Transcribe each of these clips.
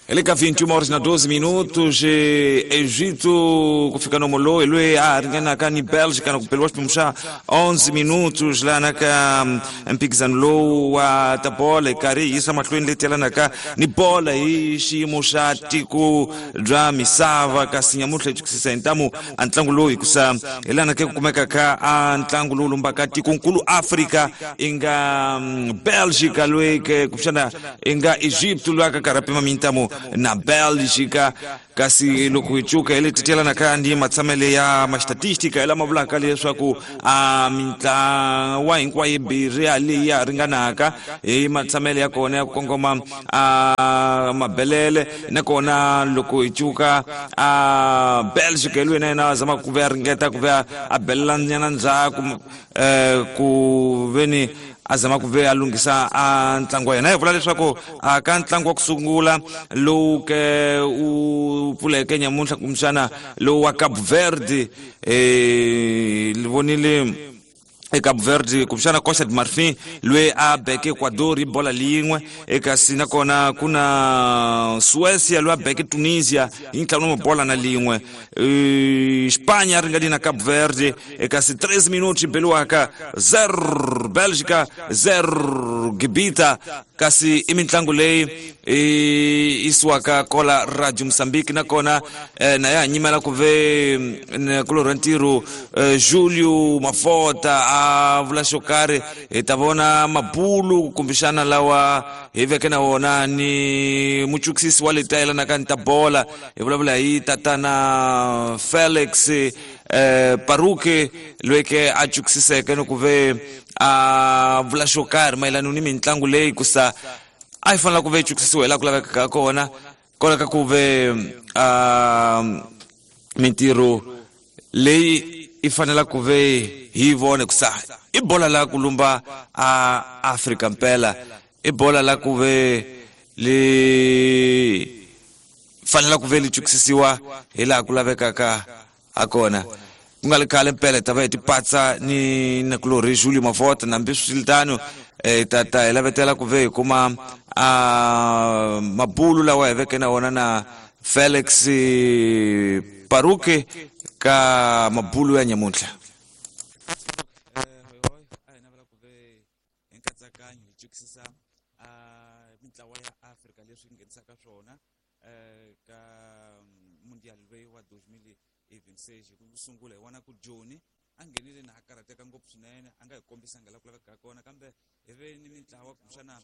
Hi le ka 21 horas na 12 minutos, Egito ku fika nomo loyi loyi a ringanaka ni Bélgica na ku beliwa xiphemu xa 11 minutos lana ka mphikizano lowu wa ta bola hi karhi hi yisa mahlweni leti yelanaka ni bola hi xiyimo xa tiko bya misava. Kasi nyamuntlha hi chukisisa hi ntamu a ntlangu lowu hikusa hi lana ke ku kumeka ka a ntlangu lowu lumbaka tikonkulu Afrika i nga Bélgica loyi ke kumbexana i nga Egypt loyi a ka karhi a pima mintamu na Bélgica. Kasi loko hi cuka hi leti tyelanaka ni matshamele ya mastatistika hi lama vulaka leswaku a mintlawa hinkwayo yimbirhi ya leyi ya ringanaka hi matshamele ya kona ya ku kongoma a mabelele. Nakona loko hi cuka a Bélgica hi loyi na yena a zamaka ku ve a ringeta ku ve a belela nyana ndzhaku, ku veni a zama ku ve a lunghisa a ntlangu wa yena. Hi vula leswaku a ka ntlangu wa ku sungula lowu ke u pfuleke nyamuntlha kumbexana lowu wa Cabo Verde, vonile eCape Verde kumbexana Costa de Marfin loyi a beke Ecuador hi bola lin'we, kasi nakona ku na Suecia loyi a beke Tunisia hi ntlhanu wa mabola na lin'we. Spanya ringani na Cape Verde, kasi 3 minutos beliwaka 0 Belgica 0 Gibita. Kasi i mitlangu leyi i isiwaka kola Radio Mozambique, nakona na ya nyimela ku ve kulorha ntirho Julio Mafota a vula xo karhi. Hi ta vona mabulu kumbexana lawa hi veke na wona ni muchukisisi wa leti yelanaka ni ta bola, hi vulavula hi tatana Felix Paruke loyi ke a chukisiseke ni ku ve a vula xo karhi mayelana ni mitlangu leyi kusa a yi fanele ku ve yi chukisisiwa hi laha ku lavekaka kona kona ka ku ve mintirho leyi i fanela ku ve hi vone kusa i bola la ku lumba a Afrika mpela, i bola la ku ve li fanela ku ve li chukisisiwa hi laha ku lavekaka ha kona. Ku nga li khale mpela ta va hi tipatsa ni nakulorhi Julio Mavota, nambi swiritano ta hi lavetela ku ve hi kuma a mabulu lawa hi veke na wona na Felix Paruke ka mabulu ya nyamuntlha. Hi nkatsakanyo hi chukisisa mintlawa ya Afrika leswi nghenisaka swona ka mundial loyi wa 2026. Ku sungula hi vona ku Joni a nghenile na a karhateka ngopfu swinene, a nga hi kombisanga laha ku lavekaka kona, kambe hi ve ni mintlawa kumbexana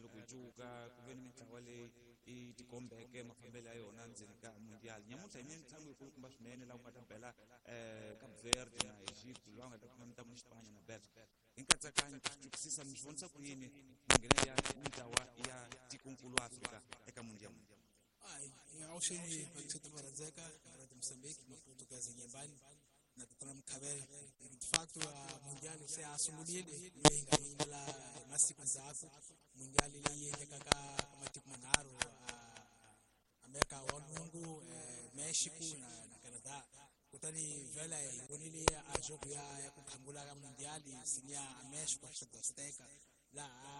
loko hi cuka ku ve ni mintlawa leyi i tikombeke mafambelo ya yona ndzeni ka mundial. Nyamuntlha hi ni mitlangu yikulukumba swinene laha ku nga ta bela Cape Verde na Egypt, laha nga ta kuma mitlangu ni Spanya na Belgium. Hi nkatsakanyo ku chukisisa mi swi vonisa ku yini minghenelo ya mintlawa ya tikonkulu Afrika eka mundial? Awuxeni vaxeti va rhandzeka Radio Mozambique, Maputo ka Zinyembani na tatana Mkhavele. De facto mundial se a sungurile leyi nga yimela hi masiku ndzhaku, mundial leyi endlekaka ka matiko manharhu, Amerika wa Lwungu, Mexico na Canada. Kutani vhela hi vonile a jogo ya ku khangula ka mundial sini ya Mexico a Azteca, laha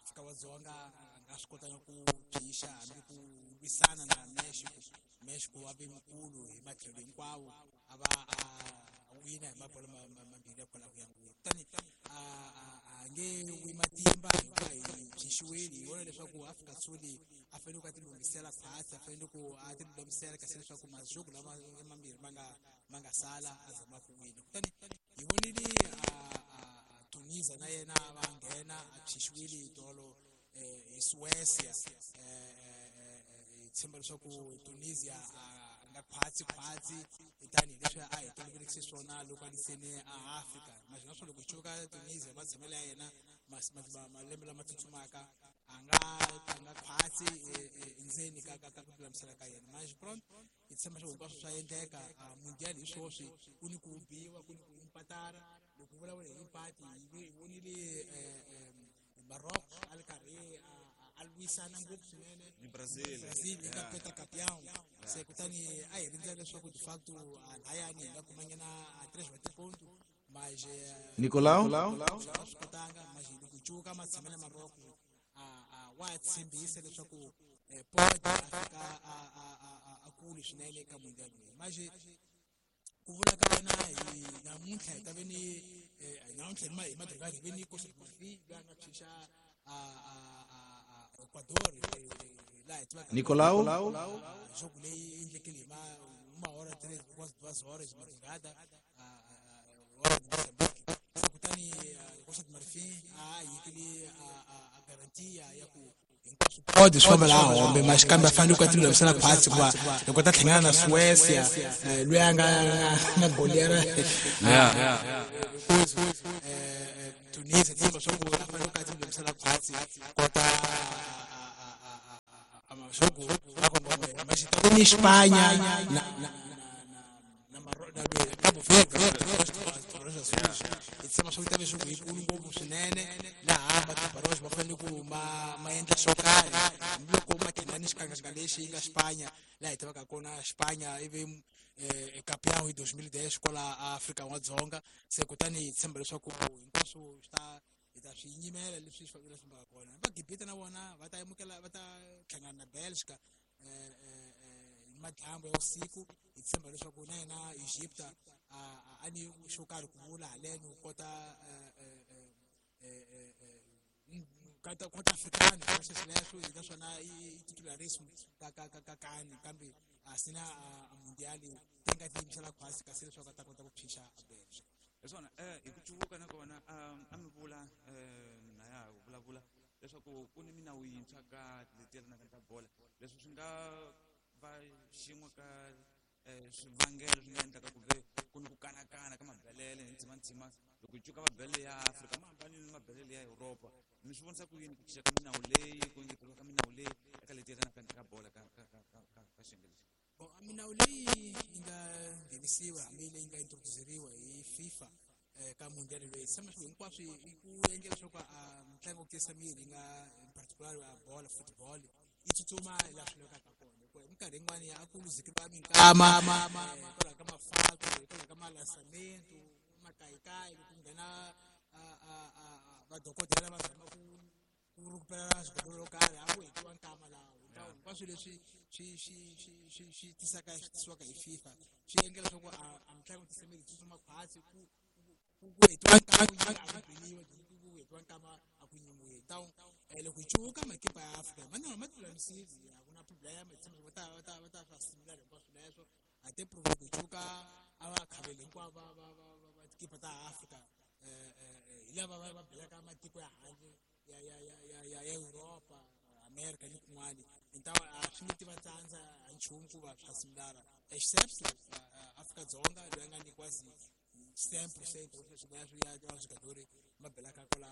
Afrika wa Dzonga a nga swi kotanga ku phyisa hambi ku lwisana na Mexico. Mexico wa ve mukulu hi matlhelo hinkwawo, a va a wina hi mabolo mambirhi ya kwala ku ya ngopfu. Kutani a nge wi matimba hikuva hi phyisiwile. Hi vona leswaku Afrika Dzonga a fanele ku a ti lunghisela khwatsi, a fanele ku a ti lulamisela kasi leswaku majogo lama mambirhi ma nga sala a zama ku wina. Kutani hi vonile Tunisia na yena va nghena a phyisiwile hi tolo hi Suecia. Hi tshemba leswaku Tunisia a nga khwatsi khwatsi tanihileswi a hi tolovelekise swona loko a liseni a Afrika. Naswona loko hi cuka Tunisia matshamelo ya yena malembe lama tsutsumaka a nga khwatsi endzeni ka ku lulamisela ka yena. Manje pronto hi tshemba leswaku hinkwaswo swa endleka. Mundial hi swoswi ku ni ku biwa, ku ni ku impatara. Loko vulavula hi impati hi vonile Morocco a ri karhi a lwisana ngopfu swinene ni Brazil, Brazil yi nga peta campeão. Se kutani a hi rindzela leswaku de facto layani hi nga kumanyana 3 wa tiponto, mas Nicolau swi kotanga. Mas loko cuka matshamelo ya Morocco wa tshembisa leswaku pode a fika a kule swinene eka mundial leyi. Manje ku vula ka wena hi namuntlha hi ta ve ni namuntlha hi madrigadi hi ve ni Costa Rica loyi a nga phyisa Ecuador laha hi tivaka Nicolau jogo leyi endlekile hi mahora 3 quase 2 horas de madrugada hora de Mozambique. Se kutani Costa do Marfim a yikile a garantia ya ku hinkwaswo pode swi famba laha hombe mas kambe a fanele ku a ti lulamisela khwatsi hikuva loko ta hlangana na Suecia loyi a nga na golera Tunisia tshemba swa ku a fanele ku a ti lulamisela khwatsi kota jogo mas ta ni Espanha na Cabo Verde hi tshemba swa ku ta ve jogo yikulu ngopfu swinene laha matibarox va fanele ku ma endla swo karhi hambiloko ma nghena ni xikangakanga lexi yi nga Espanha laha hi tivaka kona Espanha ivi campeão hi 2010 kwala Afrika N'wadzonga. Se kutani hi tshemba leswaku hinkwaswo swi ta hi ta swi yimela leswi swi leswi fambaka kona. Va Gibita na vona va ta amukela va ta hlangana na Belgica hi madyambu ya vusiku. Hi tshemba leswaku na yena Egypta a ni xo karhi ku vula haleno ku kota kota africano sweswo naswona i titularism ka ka ka ka kani kambe a sina a mundial ti nga tiyimisela khwasi kasi leswaku a ta kota ku phyisa Belgica. Hi swona hi ku cuvuka nakona a mi vula na ya ha vulavula leswaku ku ni minawu yintshwa ka leti yelanaka ta bola leswi swi nga va xin'we ka swivangelo swi nga endlaka ku ve ku ni ku kanakana ka mabelele hi ndzimandzima loko hi cuka mabelele ya Afrika ma hambanile ni mabelele ya Europa. Mi swi vonisa ku yini ku cinca ka minawu leyi ku engeteriwa ka minawu leyi eka leti yelanaka ka bola ka ka ka ka ka ka xiyenge lexi? Bon, minawu leyi yi nga nghenisiwa hambi leyi nga introduceriwa hi FIFA ka mundial leyi tshemba swi hinkwaswo i ku endla leswaku mitlangu yo tiyisa miri yi nga in particular a bola football yi tsutsuma laha swi lavekaka kona hikuva hi minkarhi yin'wani a ku luzekeriwa minkama hikwalaho ka mafako hikwalaho ka malansamento makayikayi loko ku nghena vadokodela va zama ku rhukupela swigodolo swo karhi a ku hetiwa nkama laha. Hinkwaswo leswi swi swi swi swi swi tisaka swi tisiwaka hi FIFA swi endla leswaku a mitlangu yo tiyisa miri yi tsutsuma khwatsi ku ku hetiwa nkama a ku beliwa ku hetiwa nkama a ku nyimiwi. Então loko hi cuvuka makipa ya Afrika ma na ma tilulamisile a ku na problem hi tshemba va ta va ta va ta swa similar hinkwaswo leswo a te prove ku cuvuka a va khaveli hinkwavo va va va va tikipa ta Afrika hi lava va belaka matiko ya handle ya ya ya ya ya ya Europa America ni kun'wani. Então a swi nge ti va tsandza a nchumu ku va swa similara except Afrika-Dzonga loyi a nga nyikiwa sempre sempre sweswo ya swigadori ma belaka kwala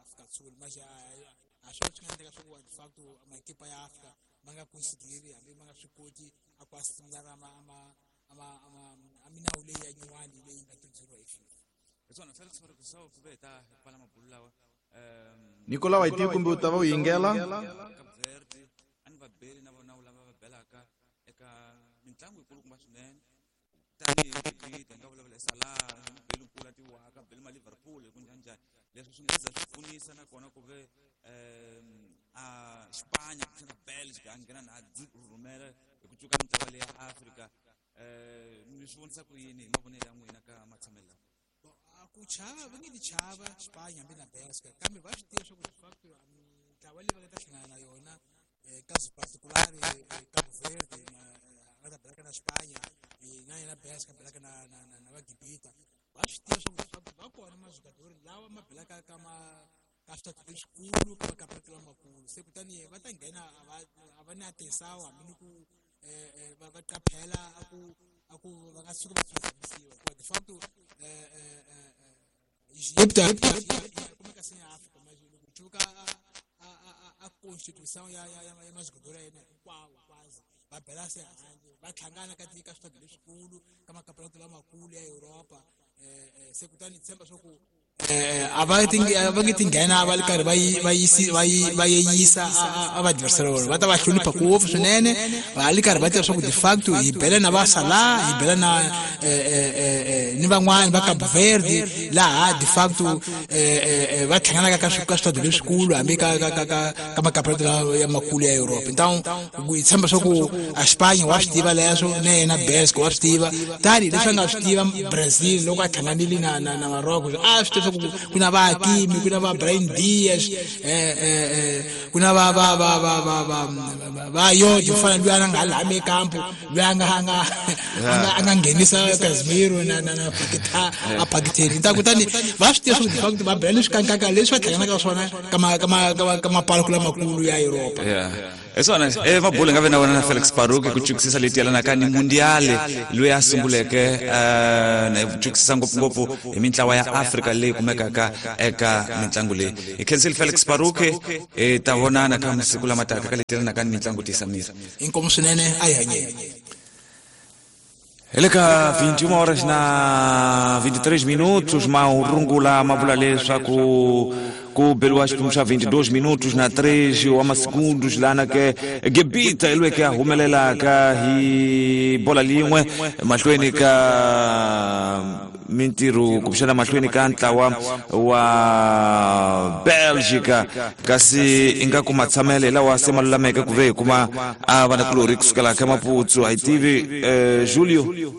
Afrika-Dzonga manje a swi swi nga endleka swa ku de facto makipa ya Afrika ma nga consideri hambi ma nga swi koti a ku similara ma ma ma ma minawu leyi ya nyuwani leyi nga tirhisiwa hi FIFA. Hi swona Felix Farikusawu ku ve hi ta hi pfala mabulu lawa Nicolau a hi tivi kumbe u ta va u yingela Cape Verde a ni va beli na vona lava va belaka eka mitlangu yikulukumba swinene tanihi Gibita hi nga vulavula hi Salah beli nkulu a tiwaka beli ma Liverpool hi ku njhaninjhani leswi swi nga za swi pfunisa nakona ku ve a Xipanya kumbexana Belgica a nghena na rhumela hi ku cuka mitlawa leyi ya Afrika. Mi swi vonisa ku yini hi mavonelo ya n'wina ka matshamelo lawa? Ku chava va nge ti chava Xipanya hambi na Belgica kambe va swi tiva swa ku de facto mitlawa leyi va nga ta hlangana na yona caso particular Cabo Verde na va ta belaka na Xipanya na yena Belgica belaka na na na na va Gibita va swi tiva swa ku de facto va kona majugadori lawa ma belaka ka ma ka switatu leswikulu ka makampani lamakulu. Se kutani va ta nghena a va na atenção hambi ni ku va qaphela a ku va nga tshuki va phazamisiwa hikuva de facto Egypta kumeka se ya Afrika manje loko cuka a constituição ya ya ya majugadori ya yena hinkwawo kwazi va bela se handle va hlangana ka ka switatu leswikulu ka makampani lamakulu ya Europa se kutani tshemba swa ku A va nge tinghena va ri karhi va yeyisa a vaadversary va ta va hlonipha ngopfu swinene, va ri karhi va tiva swa ku de facto hi bela na va Salah, hi bela na ni van'wani va Cabo Verde, laha de facto va hlanganaka ka switado leswikulu hambi ka makampionato ya makulu ya Europe. Então hi tshemba swa ku a Spain wa swi tiva leswo, na yena Belgium wa swi tiva, tani leswi a nga swi tiva Brazil loko a hlanganile na Morocco, a swi tiva swa ku na va Hakimi, ku na va Brahim Diaz, ku na va va va va va va va Yodi fana luya a nga laha ekampo, luya a nga nghenisa Casemiro na Paquetá a Paquetá. Ta kutani va swi tiva swa ku de facto va bela leswi kankaka leswi va hlanganaka swona ka mapaloko lamakulu ya Europa. Hi swona mabulu nga ve na wena na Felix Baruch ku chukisisa leti yelanaka ni mundiale loyi a sunguleke, na chukisisa ngopfungopfu hi mintlawa ya Afrika leyi kumekaka eka mitlangu leyi. Hi khensile Felix Baruch, hi ta vonana ka masiku lama taka ka leti yelanaka ni mitlangu. Tisa miri. Inkomu swinene, a hi hanyeni. Hi le ka 21 horas na 23 minutos, mahurungula ma vula leswaku ku beliwa xiphemu xa 22 minutos na 3 wa masegundos, lana ke Gebita hi lweke a humelelaka hi bola lin'we mahlweni ka mintirho, kumbexana mahlweni ka ntlawa wa Belgica, kasi ingaku matshamele hi lawa se ma lulameke ku ve hi kuma a vanakulorhi kusukela ka Maputsu. A hi tivi, Julio.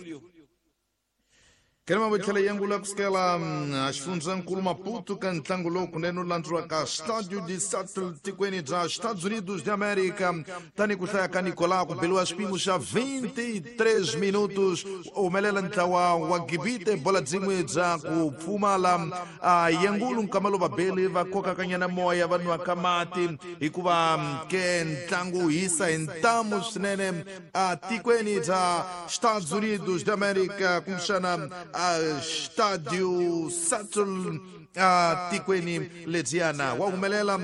Kelema vo tlhela yangula kusukela a xifundzankulu Maputo ka ntlangu lowu kunene wu landzuriwaka Estádio de Seattle tikweni bya Estados Unidos de América. Tani ku hlaya ka Nicolau, ku beliwa xipimo xa 23 minutos, humelela ntlawa wa Gibite bola byin'we bya ku pfumala. A yangulu nkama lowu vabeli va kokakanyana moya, va nwaka mati, hikuva ke ntlangu wu hisa hi ntamu swinene a tikweni bya Estados Unidos de América, kumbexana a Estádio Seattle a tikweni lediyana. Wa humelela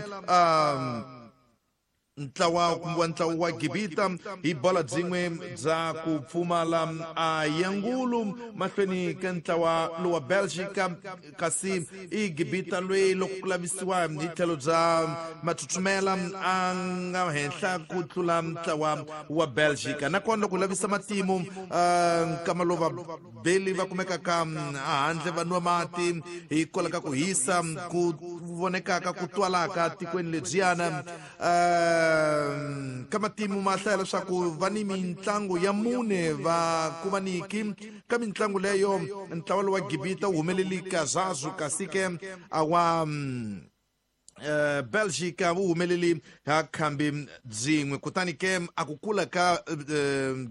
ntlawa kumbe wa ntlawa wa Gibita hi bola byin'we bya ku pfumala a yangulu mahlweni ka ntlawa lowa Belgica, kasi i Gibita loyi loko ku lavisiwa hi tlhelo bya mathuthumela a nga henhla ku tlula ntlawa wa Belgica. Nakona loko lavisa matimu, nkama lowu vabeli va kumekaka handle va nwa mati hikwalaho ka ku hisa ku vonekaka ku twalaka tikweni lebyiyana, ka matimu ma hlaya leswaku va ni mitlangu ya mune va kuma niki ka mitlangu leyo, ntlawa lowa Gibita wu humeleli kazazu, kasi ke a wa Belgica wu humeleli ha khambi byin'we. Kutani ke a ku kula ka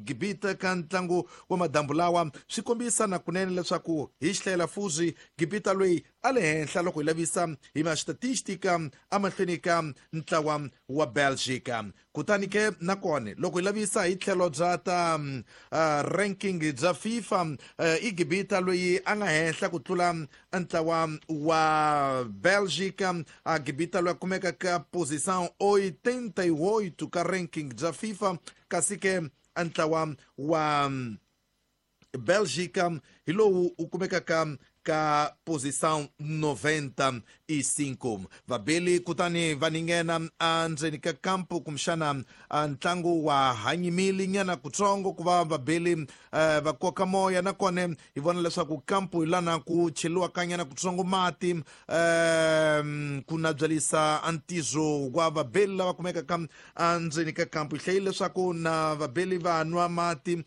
Gibita ka ntlangu wa madambu lawa swi kombisa na kunene leswaku hi xihlayela fuzi Gibita loyi a le henhla loko hi lavisa hi ma statistika emahlweni ka ntlawa wa Belgica. Kutani ke nakona loko hi lavisa hi tlhelo bya ta ranking bya FIFA, i Gibita loyi a nga henhla ku tlula ntlawa wa Belgica. A Gibita loyi a kumeka ka posição 88 ka ranking bya FIFA, kasi ke ntlawa wa Belgica hi lowu u kumekaka ka posição 95. Vabeli kutani va ninghena endzeni ka kampo, kumbexana ntlangu wa hanyimile nyana kutsongo ku va vabeli va koka moya. Nakona hi vona leswaku kampo hi lana ku cheliwaka nyana kutsongo mati, ku nabyalisa ntizo wa vabeli lava kumekaka endzeni ka kampo. Hi hlayile leswaku na vabeli va nwa mati,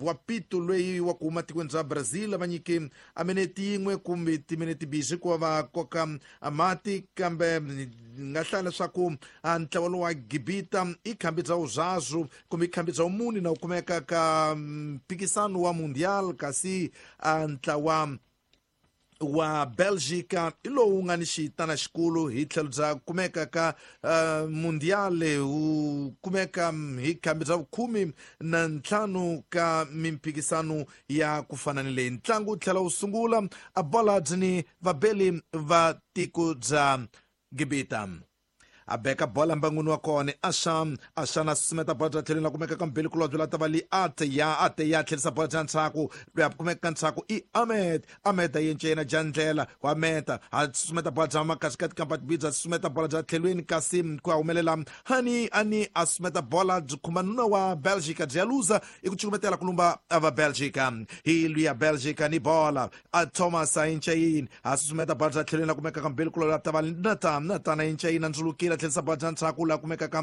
wa pito loyi wa ku huma tikweni bya Brazil va nyike a minete yin'we kumbe timinete bizi ku va va koka mati, kambe nga hlaya leswaku ntlawa lowu wa Gibita i khambi bya wuzazu kumbe i khambi bya wumuni na wu kumeka ka mphikisano wa mundial, kasi ntlawa wa Belgica hi lowu nga ni xitana xikulu hi tlhelo bya kumeka ka mundiale, wu kumeka hi khambi bya vukhume na ntlhanu ka mimphikisano ya ku fana ni leyi. Ntlangu wu tlhela wu sungula, a bola byi ni vabeli va tiko bya Gibita. A beka bola mbangwini wa kona Asha Asha na susumeta bola bya tlhelweni la kumeka ka mbili kulobye la ta va li ate ya ate ya tlherisa bola bya ndzhaku loyi a kumeka ka ndzhaku i Ahmed Ahmed a yence yena jandlela wa meta a susumeta bola bya makasikati kampa bya susumeta bola bya tlhelweni kasi ku ya humelela Hani ani a susumeta bola byi khumba nuna wa Belgica byi ya luza i ku cukumetela ku lumba va Belgica hi luya Belgica ni bola a Thomas a yence yini a susumeta bola bya tlhelweni la kumeka ka mbili kulobye la ta va Nathan Nathan a yence yini a ndzulukile a tlherisa bola bya ndzhaku la kumeka ka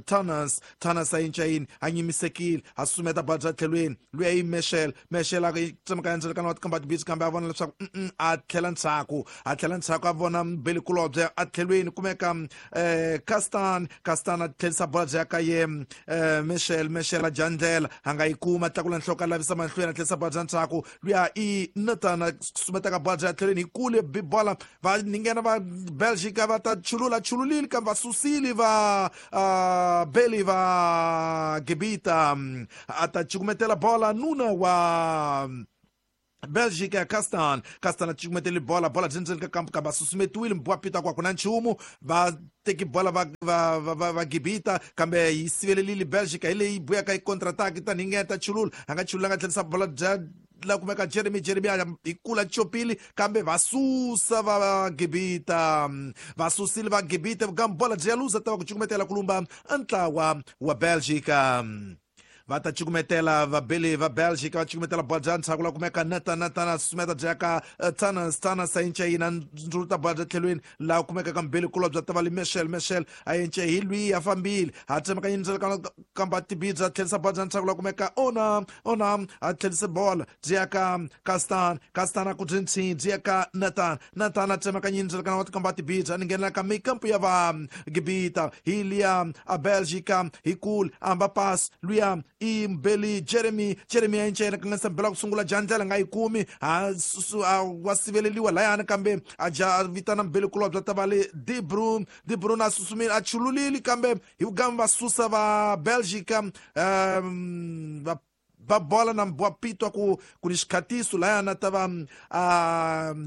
Tanas Tanas a yence yini a nyimisekile a susumeta bola bya tlhelweni luya i Meshel Meshel a tsemaka endzeni wa tikamba tibisi kambe a vona leswaku a tlhela ndzhaku a tlhela ndzhaku a vona mbili kulobye a tlhelweni kumeka Castan Castan a tlherisa bola bya ka ye Meshel Meshel a dya ndlela a nga yi kuma tlakula nhloko a lavisa mahlweni a tlherisa bola bya ndzhaku luya i Nathan a susumetaka bola bya tlhelweni hi kule bi bola va ningena va Belgica va ta chulula chululile kambe va susile va beli va Gibita a ta cukumetela bola nuna wa Belgica Castan Castan a cukumetele bola bola byi ndzeni ka kampu kambe a susumetiwile mbiwa pita ku a ku na nchumu va teki bola va va va va, va Gibita kambe yi sivelelile Belgica hi leyi buyaka yi contre-attack tanihi ngeta chulula a nga chulula nga tlherisa bola bya la kumeka Jeremy Jeremy a hi kula chopile kambe va susa va Gibita va susile va Gibita kambe bola byi ya luza ta va ku cukumetela ku lumba ntlawa wa Belgica va ta cukumetela vabeli va Belgica va cukumetela bola bya ndzhaku la kumeka Nathan Nathan a susumeta bya ka Tanas Tanas a yence yina ndzuluta bola bya tlhelweni laha kumeka ka mbili kulobye ta va li Meshel Meshel a yence hi lwiyi a fambile a tsemakanya ndzela kamba tibidzi a tlherisa bola bya ndzhaku la kumeka Ona Ona a tlherise bola byi ya ka Castan Castan a ku byi ntshini byi ya ka Nathan Nathan a tsemakanya ndzela wa tikamba tibidzi a ningenela ka mikampu ya va Gibita hi liya a Belgica hi kule amba pass luya i mbeli Jeremy Jeremy a yence yena kanganyisa mbela ku sungula jandlela nga yi kumi a wa siveleliwa layani kambe a ja a vitana mbeli kulobye ta va le De Bruyne De Bruyne a susumile a chululile kambe hi vugamu va susa va Belgica va va bola na mbwa pitwa ku ku ni xikhatiso layana ta va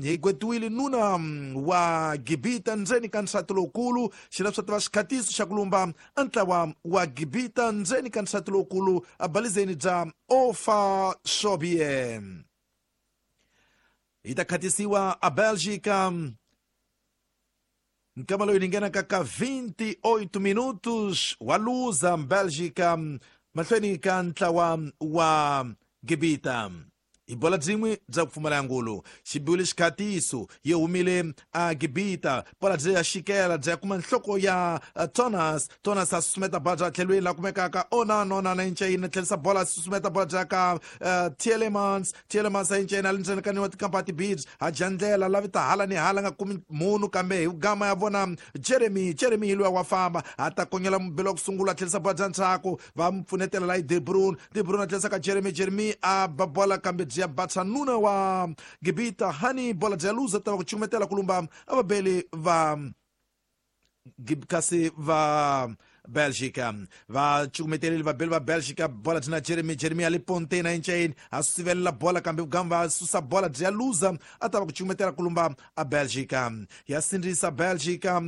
hi gwetiwile nuna wa Gibita ndzeni ka nsati lowukulu xi leswi ta va xikhatiso xa ku lumba ntlawa wa Gibita ndzeni ka nsati lowukulu abalizeni bya Ofa Shobie hi ta khatisiwa a Belgica nkama loyi ni nghenaka ka 28 minutos wa luza Belgica mahlweni ka ntlawa wa Gibita hi bola byin'we bya ku pfumala ngulu xi biwile xikhatiso yi humile a Gibita bola byi ya xikela byi ya kuma nhloko ya Thomas Thomas a susumeta bola bya tlhelweni la kumekaka Onan Onan a yinca yini tlherisa bola a susumeta bola bya ka Tielemans Tielemans a yinca yini a le ndzeni ka niwa tikampa tibidzi a dya ndlela lavita hala ni hala nga kumi munhu kambe hi gama ya vona Jeremy Jeremy hi luya wa famba a ta konyela mubelo wa ku sungula a tlherisa bola bya ndzhaku va mu pfunetela la De Bruyne De Bruyne a tlherisa ka Jeremy Jeremy a ba bola kambe byi ya batsa nuna wa Gibita Hani bola byi ya luza ta va ku cukumetela ku lumba a vabeli va kasi va Belgica va cukumetelile vabeli va Belgica bola byi na Jeremy Jeremy a le ponteni a yincayini a sivelela bola kambe vugamu va susa bola byi ya luza a ta va ku cukumetela ku lumba a Belgica ya sindzisa Belgica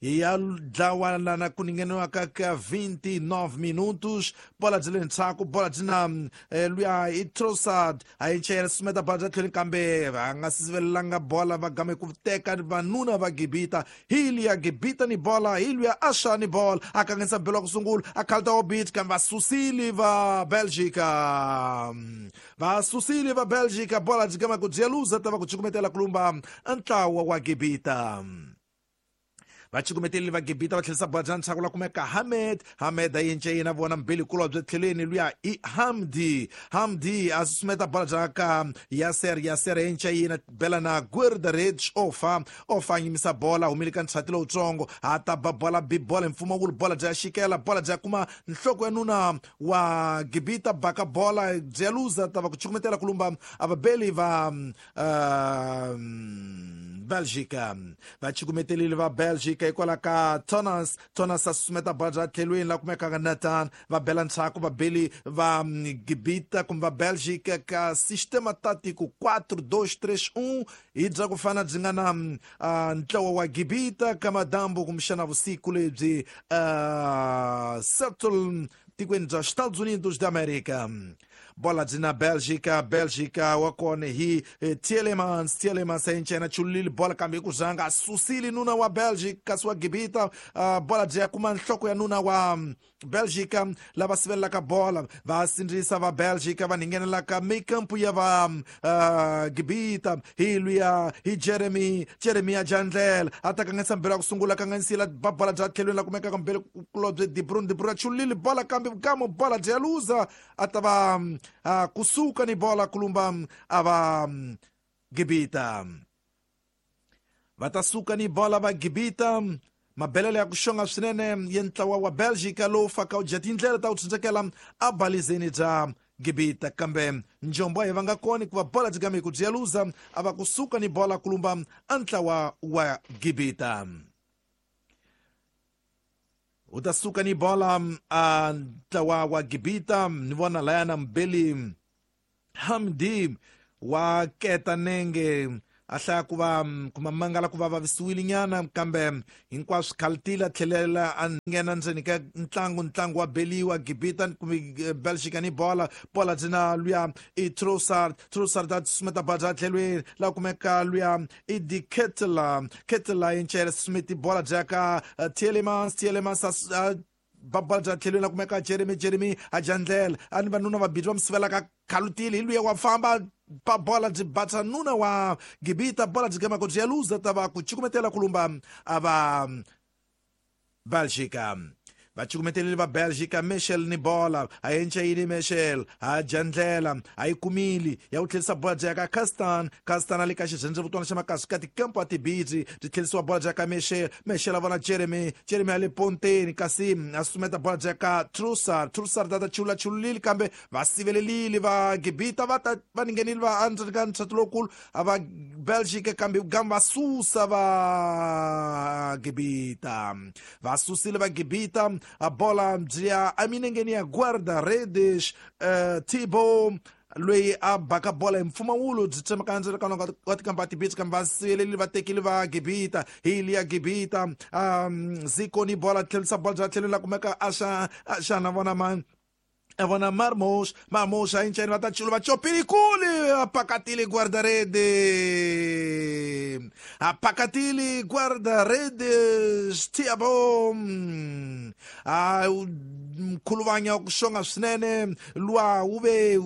ya dlawa lana ku ningheniwaka ka 29 minutos bola byi le ndzhaku bola byi na luya i Trossard a yi chayela susumeta bola bya tlhelo kambe va nga sivelelanga bola va game ku teka vanuna va Gibita hi liya Gibita ni bola hi luya Asha ni bola a kanganyisa belo ku sungula a khalta obit kambe va susile va Belgica va susile va Belgica bola byi gama ku byi luza ta va ku cukumetela ku lumba ntlawa wa Gibita va cukumetelile va Gibita va tlherisa bola bya ndzhaku la kumeka Hamed Hamed a yence yena vona mbili kulobye tlhelweni luya i Hamdi Hamdi a susumeta bola bya ka Yasser Yasser a yence yena bela na Guerdarich Ofa Ofa a yimisa bola humile ka ntshati lowutsongo a ta ba bola bi bola hi mpfumawulo bola bya xikela bola bya kuma nhloko ya nuna wa Gibita baka bola byi ya luza ta va ku cukumetela ku lumba a vabeli va Belgica. Va cukumetelile va Belgica hikwalaho ka Thomas. Thomas a susumeta bola bya tlhelweni la kumekaka Nathan, va bela ndzhaku vabeli va Gibita kumbe va Belgica ka sistema tático 4-2-3-1 hi bya ku fana byi nga na ntlawa wa Gibita ka madambu kumbexana vusiku lebyi Settle tikweni bya Estados Unidos da América. Bola byi na Belgica, Belgica wa kona hi Tielemans. Tielemans a encena chulile bola kambe ku zanga a susile nuna wa Belgica kasi wa Gibita. Bola byi ya kuma nhloko ya nuna wa Belgica lava sivelelaka bola, va sindzisa va Belgica va nghenelaka mikampu ya va Gibita hi luya hi Jeremy. Jeremy a jandlela a ta kanganyisa mbelo ya ku sungula, kanganyisile ba bola bya tlhelweni la kumekaka mbelo kulobye De Bruyne. De Bruyne a chulile bola kambe kamo bola byi ya luza, a ta va kusuka ni bola kulumba a va Gibita. Va ta suka ni bola va Gibita. Mabelelo ya ku xonga swinene ya ntlawa wa Belgica lowu faka u dya tindlela ta ku tshunxekela a balizeni bya Gibita, kambe njombo a hi va nga koni ku va bola byi kambe ku byi ya luza, a va kusuka ni bola kulumba a ntlawa wa Gibita. U ta suka ni bola a ntlawa wa Gibita. Ni vona layana mbeli Hamdi wa keta nenge a hlaya ku va kuma mangala ku va vavisiwile nyana, kambe hinkwaswo khaltile a tlhelela a nghena ndzeni ka ntlangu. Ntlangu wa beliwa Gibita kumbe Belgica ni bola. Bola byi na luya i Trossard. Trossard a susumeta bola bya tlhelweni la kumeka luya i Di Ketela. Ketela yi susumeti bola bya ka Tielemans. Tielemans a ba bola bya tlhelweni la kumeka Jeremy. Jeremy a jandlela a ni vanuna vabili va mi sivelaka khalutile hi luya wa famba ba bola byi batsa nuna wa Gibita, bola byi gama ku byi ya luza, ta va ku cukumetela kulumba a va Belgica. Va cukumetelile va Belgica. Michel ni bola a encayini, Michel a jandlela a yi kumile ya ku tlherisa bola bya ka Castan. Castan a le ka xirhendzevutwana xa makasi ka tikampo a tibidzi, byi tlherisiwa bola bya ka Michel. Michel a vona Jeremy. Jeremy a le ponteni kasi a susumeta bola bya ka Trossard. Trossard a ta chulula chululile kambe va sivelelile va Gibita, va ta va nghenile va endzeni ka ntshato lowukulu a va Belgica, kambe gamba va susa va Gibita, va susile va Gibita. A bola byi ya eminengeni ya guarda-redes Thibaut loyi a baka bola hi mpfumawulo byi tsemaka ndzeni ka wa tikamba tibitsi, kambe va siveleli va tekile va Gibita hi liya Gibita. Ziko ni bola tlherisa bola bya tlhelo la kumeka axa axana vona man a vona Marmos. Marmos a enceni va ta chulu va chopile kule a pakatile guarda-rede, a pakatile guarda-redes Thiago a mkhuluvanya ku xonga swinene luwa wu ve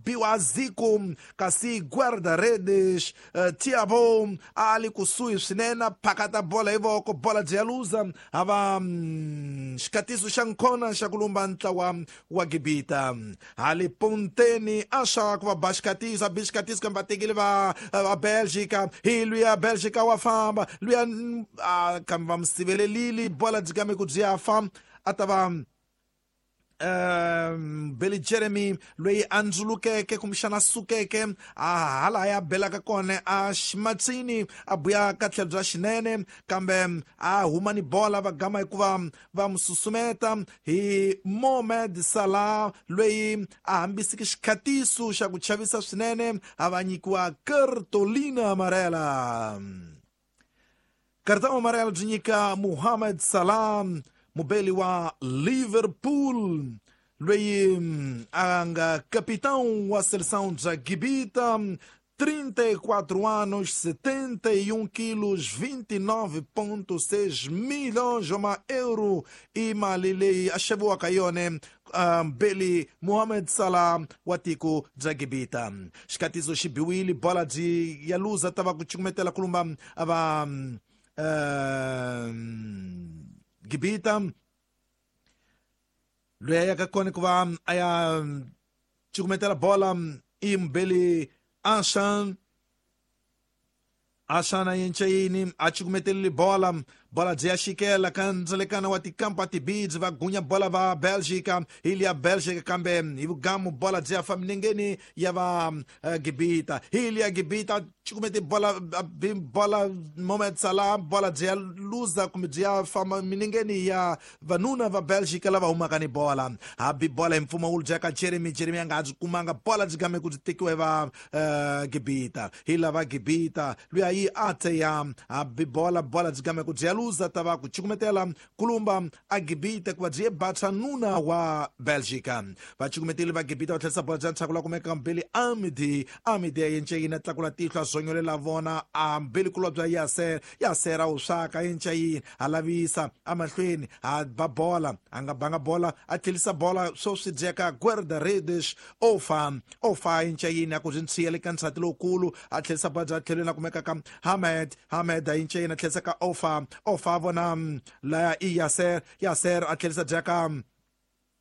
biwa Ziko, kasi guarda-redes Thiago a li kusuhi swinene a phakata bola hi voko, bola byi ya luza, a va xikatiso xa nkhona xa ku lumba ntlawa wa Gibita. Hali ponteni a xa ku va ba xikatiso, a bi xikatiso kambe va tekile va Belgica hi luya Belgica wa famba luya kambe va mi sivelelile bola byi kambe ku byi ya fa, a ta va Billy Jeremy loyi a ndzulukeke kumbexana a sukeke a hala ya belaka kona a ximatsini a buya ka tlhelo bya xinene, kambe a huma ni bola va gama hikuva va mu susumeta hi Mohamed Salah loyi a hambisiki xikhatiso xa ku chavisa swinene, a va nyikiwa cartolina amarela. Cartão amarelo byi nyika Mohamed Salah, mubeli wa Liverpool loyi a nga capitão wa seleção bya Gibita, 34 anos, 71 quilos, 29,6 milhões de euro i mali leyi a xaviwaka yona Beli Mohamed Salah wa tiko bya Gibita. Xikatiso xi biwile, bola byi ya luza, ta va ku cukumetela kulumba a va Gibita. Loyi a yaka kona ku va a ya cukumetela bola i Mbeli Ashan. Ashan a yenceyini a cukumetelile bola, Bola byi ya xikela ka ndzelekana wa tikampa tibidzi va gunya bola va Belgica hi liya Belgica kambe hi vugamu bola byi ya fa minengeni ya va Gibita hi liya Gibita cukumete bola bola Mohamed Salah bola byi ya luza kumbe byi ya famba minengeni ya vanuna va Belgica lava humaka ni bola hambi bola hi mpfumawulo bya ka Jeremy Jeremy a nga ha byi kumanga bola byi game ku byi tekiwa hi va Gibita hi lava Gibita luya yi ate ya hambi bola bola byi game ku byi ya luza ta va ku cukumetela kulumba a Gibita ku va byi ye batsa nuna wa Belgica va cukumeteli va Gibita va tlherisa bola bya ntshaku la kumeka mbeli Amidi Amidi ya yenceyini a tlakula tihlo a zonyolela vona a mbeli kulwa bya Yaser Yaser a wu swaka yenceyini a lavisa amahlweni a ba bola a nga banga bola a tlhelisa bola swo swi dyeka Guerda Redes ofa ofa yenceyini a ku byi ntshiya le ka nsati lowukulu a tlhelisa bola bya tlhelweni a kumeka ka Hamed Hamed a yenceyini a tlhelisa ka ofa ofa a vona laya i Yaser Yaser a tlhelisa dyaka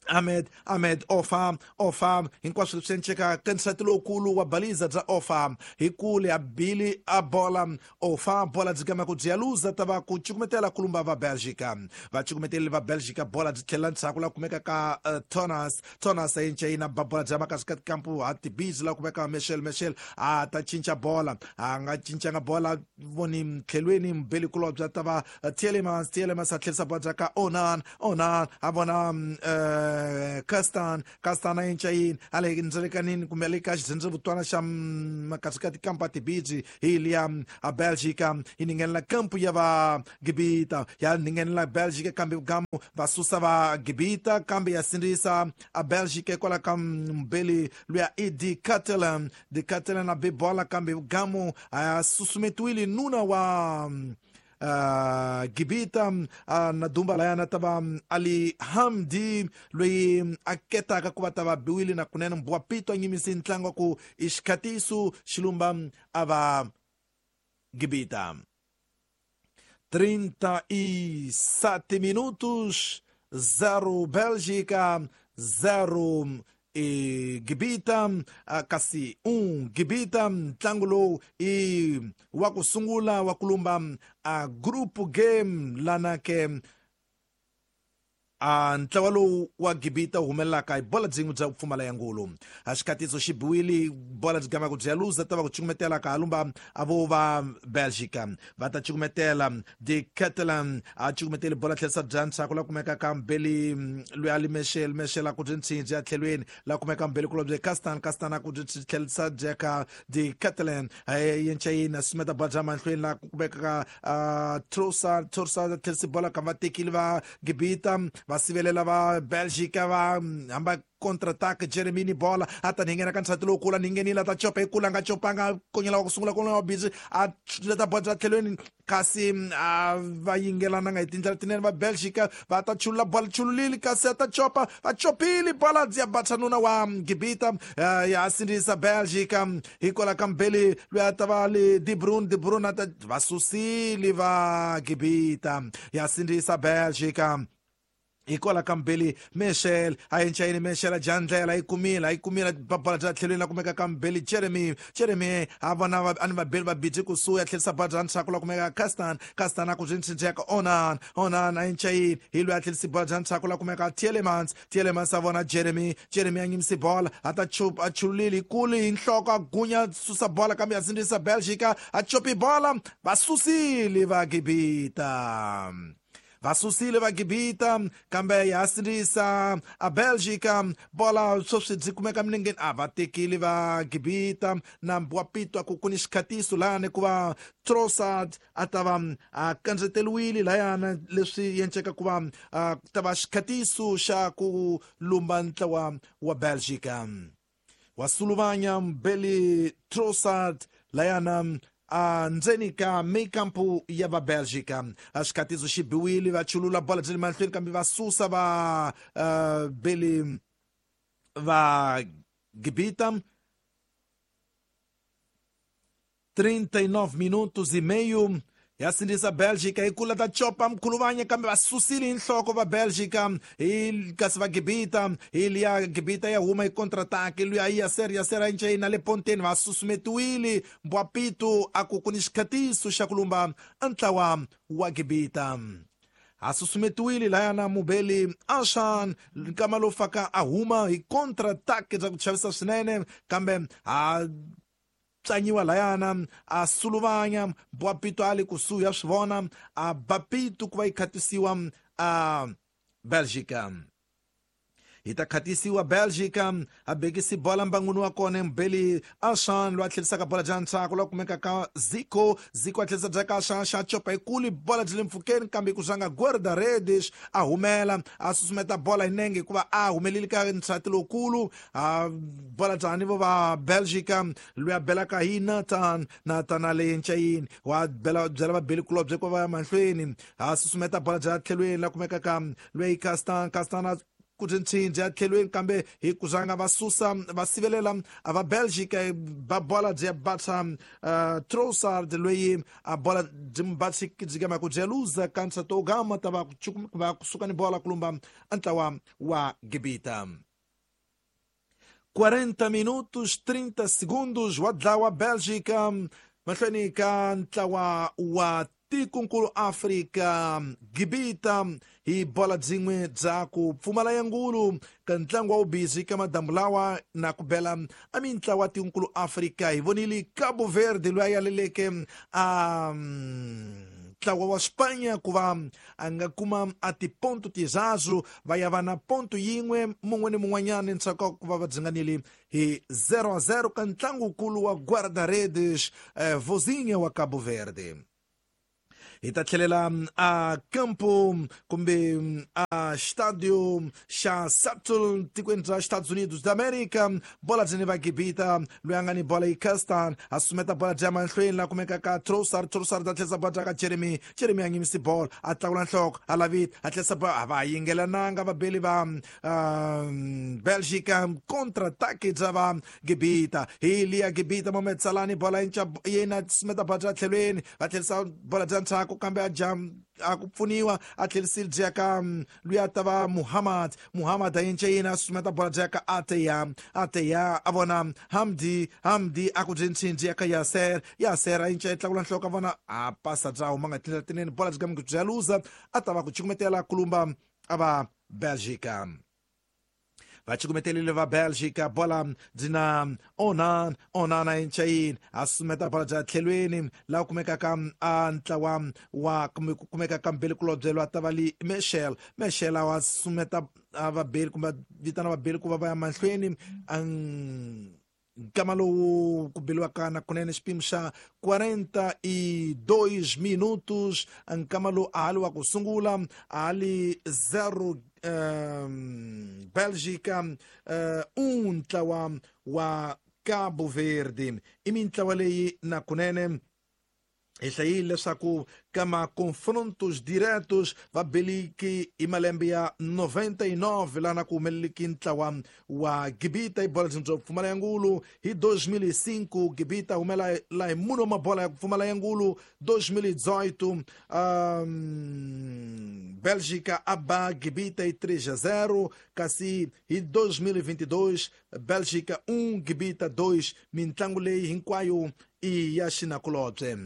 Ahmed Ahmed Ofa Ofa hinkwaswo leswi enceka ka nsati lowukulu wa baliza bya Ofa hi kule a bili a bola Ofa bola byi gama ku byi ya luza ta va ku cukumetela kulumba va Belgica va cukumeteli va Belgica bola byi tlhelela ndzhaku la kumeka ka Thomas Thomas a yenca yina ba bola bya makasi ka tikampu ha tibizi la kumeka Michel Michel a ta cinca bola a nga cincanga bola voni tlhelweni mbeli kulobya ta va Tielemans Tielemans a tlherisa bola bya ka Onan Onan a vona Kastan Kastan a yenca yini a le ndzelekanini kumbe le ka xidzhendzevutwana xa makasi ka tikampa tibidzi hi liya a Belgica yi ningenela kampu ya va Gibita ya ningenela Belgica kambe gamu va susa va Gibita kambe ya sindzisa a Belgica hikwalaho ka mbeli luya i De Catalan De Catalan a be bola kambe gamu a susumetiwile nuna wa Gibita na dumba layana ta va Ali Hamdi loyi a ketaka ku va ta va biwile na kunene mbuwa pito a nyimise ntlangu wa ku i xikhatiso xilumba a va Gibita 37 minutos 0 Bélgica 0 e Gibita kasi 1 Gibita ntlangu lowu i wa ku sungula wa kulumba a group game lana ke a ntlawa lowu wa Gibita wu humelelaka hi bola byin'we bya ku pfumala ya ngulu a xikhatiso xi biwile bola byi gama ku byi ya luza ta va ku cukumetela ka halumba a vo va Belgica va ta cukumetela De Catalan a cukumeteli bola tlherisa bya ndzhaku la kumeka ka mbeli loyi a li Michel Michel a ku byi ntshindzi ya tlhelweni la kumeka mbeli kulobye Castan Castan a ku byi tlherisa bya ka De Catalan yenca yini a sumeta bola bya mahlweni la kumeka ka Trossard Trossard a tlherisi bola ka va tekile va Gibita va sivelela va Belgica va hamba contre-attaque Jeremini bola a ta ninghena ka nsati lowukulu a ninghenile a ta copa hi kula a nga copanga konyela wa ku sungula konyela wa busy a leta bola bya tlhelweni kasi a va yingelananga hi tindlela tinene va Belgica va ta chulula bola chululile kasi a ta copa va copile bola ya batsa nuna wa Gibita ya sindzisa Belgica hikwalaho ka mbeli loyi a ta va le De Bruyne De Bruyne a ta va susile va Gibita ya sindzisa Belgica hikwalaho ka mbeli Michel a yencayini Michel a dya ndlela yi kumile a yi kumile bola bya tlhelweni la kumeka ka mbeli Jeremy Jeremy a vona a ni vabeli va bidzi kusuhi a tlherisa bola bya ndzhaku la kumeka Castan Castan a ku byi ntshintsheka Onan Onan a yencayini hi loyi a tlherisi bola bya ndzhaku la kumeka Tielemans Tielemans a vona Jeremy Jeremy a nyimisi bola a ta chupa a chululile hi kule hi nhloko a gunya susa bola kambe a sindzisa Belgica a chopi bola va susile va Gibita va susile va Gibita kambe ya sindzisa a Belgica bola sweswi byi kumeka milengeni a va tekile va Gibita nambu wa pitwa ku ku ni xikhatiso lani ku va Trossard a ta va a kandzeteriwile layana leswi yenceka ku va a ta va xikhatiso xa ku lumba ntlawa wa Belgica wa suluvanya Mbeli Trossard layana a ndzeni ka mikampu ya va Belgica a xikhatiso xi biwile va chulula bola byi le mahlweni kambe va susa va Beli va Gibita 39 minutos e meio. Ya sindzisa Belgica hi kula ta copa mkhuluvanya kambe va susile hi nhloko va Belgica hi kasi va Gibita hi liya Gibita ya huma hi contre-attaque luya yi Yaser Yaser a yinca na le ponteni va susumetiwile Mbwapito a ku ku ni xikhatiso xa ku lumba ntlawa wa Gibita a susumetiwile layana mubeli Ashan nkama lowu faka a huma hi contre-attaque bya ku chavisa swinene kambe a tsanyiwa layana a suluvanya Mbwapito a le kusuhi ya swi vona a Bapito ku va yi khatisiwa a Belgica hi ta khatisiwa Belgica a bekisi bola mbangwini wa kona mbeli Ashan loyi a tlherisaka bola bya ntshaku loyi a kumeka ka Zico Zico a tlherisa bya ka Ashan xa copa yikulu bola byi le mpfhukeni kambe ku zanga guarda-redes a humela a susumeta bola hi nenge hikuva a humeleli ka ntsati lowukulu a bola byani vo va Belgica loyi a belaka hi Nathan Nathan a le ncayini wa bela byela vabeli kulobye ku va ya mahlweni a susumeta bola bya tlhelweni la kumekaka loyi Castan Castan a ku ntshindzi ya tlhelweni kambe hi ku zanga va susa va sivelela a va Belgica ba bola byi ya batsa Trossard loyi a bola byi mu batsi byi gama ku byi luza ka ntshato gama ta va va kusuka ni bola kulumba ntlawa wa Gibita 40 minutos 30 segundos wa dlawa Belgica mahlweni ka ntlawa wa tikonkulu Afrika Gibita hi bola byin'we bya ku pfumala ya ngulu ka ntlangu wa wubizi ka madamu lawa na ku bela a mintlawa tikonkulu Afrika hi vonile Cabo Verde loyi a yaleleke a ntlawa wa Spanya ku va a nga kuma a tiponto tizazu va ya va na ponto yin'we mun'we ni mun'wanyana ndzhaku ku va va dzinganile hi 0-0 ka ntlangukulu wa guarda-redes Vozinha wa Cabo Verde. Hi ta tlhelela a campo kumbe a estádio xa Seattle tikweni bya Estados Unidos da América bola byi ni va Gibita loyi a nga ni bola yi Castan a sumeta bola bya mahlweni la kumeka ka Trossard Trossard a tlherisa bola bya ka Jeremy Jeremy a nyimisi bola a tlakula nhloko a lavita a tlherisa bola a va yingelananga vabeli va Belgica contre-attaque bya va Gibita hi liya Gibita Mohamed Salah ni bola yinca yena sumeta bola bya tlhelweni va tlherisa bola bya ndzhaku kambe a jam a ku pfuniwa a tlherisile byi ya ka loyi a ta va Muhammad Muhammad a yinca yena a sumeta bola byi ya ka Ateya Ateya a vona Hamdi Hamdi a ku byi ntshindzi ya ka Yaser Yaser a yinca yi tlakula nhloko a vona a pasa bya huma nga tindlela tinene bola byi kambe bya luza a ta va ku cukumetela kulumba a va Belgica va cukumetelile va Belgica bola byi na Onan Onan a yinca yini a sumeta bola bya tlhelweni laha kumekaka a ntlawa wa kumbe ku kumeka ka mbeli kulobye loyi a ta va li Michel Michel a wa sumeta a vabeli kumbe vitana vabeli ku va va ya mahlweni nkama lowu ku beliwaka na kunene xipimo xa 42 minutos nkama lowu a ha li wa ku sungula a ha li 0 Belgica 1 ntlawa wa Cabo Verde i mintlawa leyi na kunene hi hlayile leswaku ka ma-confrontos diretos va beliki hi malembe ya 99 laha na ku humeleliki ntlawa wa Gibita hi bola byo pfumala ya ngulu hi 2005 Gibita humela la hi munhu wa mabola ya ku pfumala ya ngulu 2018 Belgica a ba Gibita hi 3-0 kasi hi 2022 Belgica 1 Gibita 2 mintlangu leyi hinkwayo i ya xinakulobye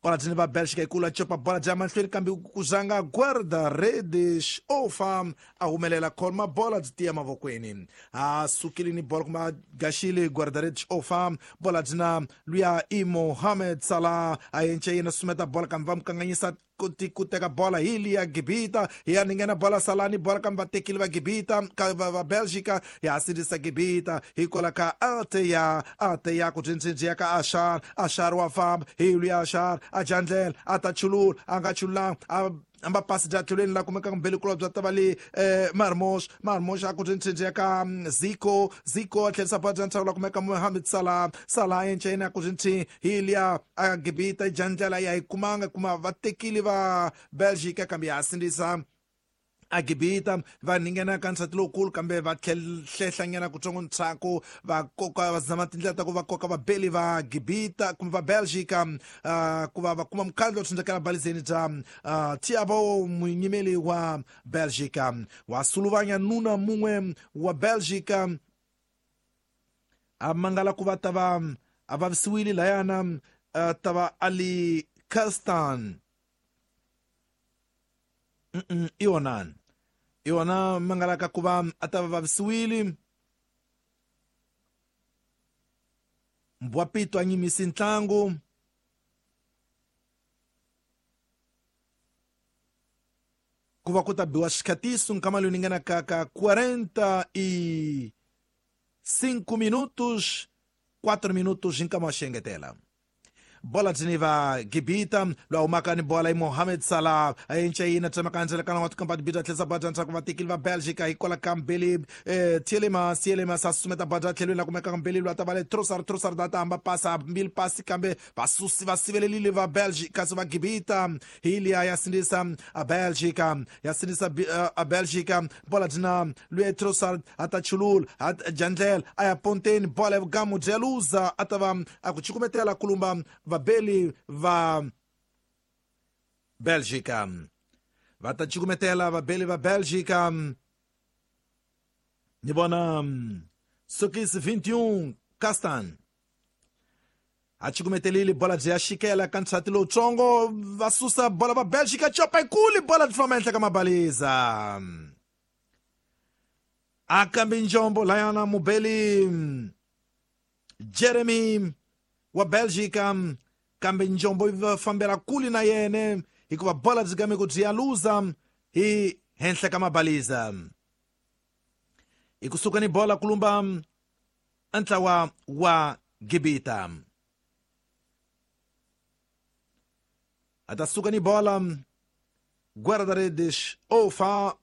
bola byi ni va Belgica yi kula copa bola bya mahlweni kambe ku zanga guarda-redes ofa a humelela khoma bola byi tiya mavokweni a sukile ni bola kumbe a gaxile guarda-redes ofa bola byi na luya i Mohamed Salah a yence yena sumeta bola kambe va mu kanganyisa ku teka bola hi liya Gibita hi ya ninghena bola Salah ni bola kambe va tekile va Gibita ka va Belgica ya sindzisa Gibita hi kola ka Ateya Ateya ku dzindzi ya ka Ashar Ashar wa famba hi luya Ashar a jandlela a ta chulula a nga chululanga a amba pasi bya tlhelweni la kumekaka mbeli kulobye bya ta va le Marmos Marmos a ku dzindzi ya ka Zico Zico a tlherisa bola bya ntshaku la kumeka Mohamed Salah Salah a yenca yena ku dzindzi hi liya a Gibita jandlela ya yi kumanga kuma va tekile va Belgica kambe ya sindzisa A Gibita va ningena ka nsati lowukulu kambe va hlehla kutsongo ntshaku va koka va zama tindlela ta ku va koka vabeli va Gibita kumbe va Belgica ku va va kuma mukhandlu wa tshundzekela balizeni bya Thiago munyimeli wa Belgica wa suluvanya nuna mun'we wa Belgica a mangala ku va ta va a vavisiwile layana ta va Ali Kastan iwonani iwona mangalaka ku va a ta va vavisiwile Mbwapito a nyimisi ntlangu ku va ku ta biwa xikhatiso nkama lowu ni nga ka 45 minutos 4 minutos nkama wa xiengetela. Bola dzini va Gibita lwa humaka ni bola i Mohamed Salah a encayina tsemaka ndzela kana wa tikampa tibita tlhesa bada ndzhaku va tekile va Belgica hikwala ka mbili Tielemans Tielemans a susumeta bada tlhelweni la kumeka ka mbili lwa ta va le Trossard Trossard a ta hamba pasa mbili pasi kambe vasusi va sivelelile va Belgica kasi va Gibita hi liya ya sindzisa a Belgica ya sindzisa a Belgica bola dzina luya Trossard a ta chulula a jandlela a ya ponteni bola ya vugamu bya luza a ta va a ku cukumetela kulumba vabeli va Belgica va ta cukumetela vabeli va Belgica ni vona Sokis 21 Kastan a cukumetelile bola byi ya xikela ka nsati lowutsongo va susa bola va Belgica copa yikulu bola byi famba ehenhla ka mabaliza a kambe njombo layana mubeli Jeremy wa Belgica kambe njombo yi va fambela kule na yene hikuva bola byi game ku byi ya luza hi henhla ka mabaliza hi kusuka ni bola kulumba ntlawa wa Gibita a ta suka ni bola guarda-redes Ofa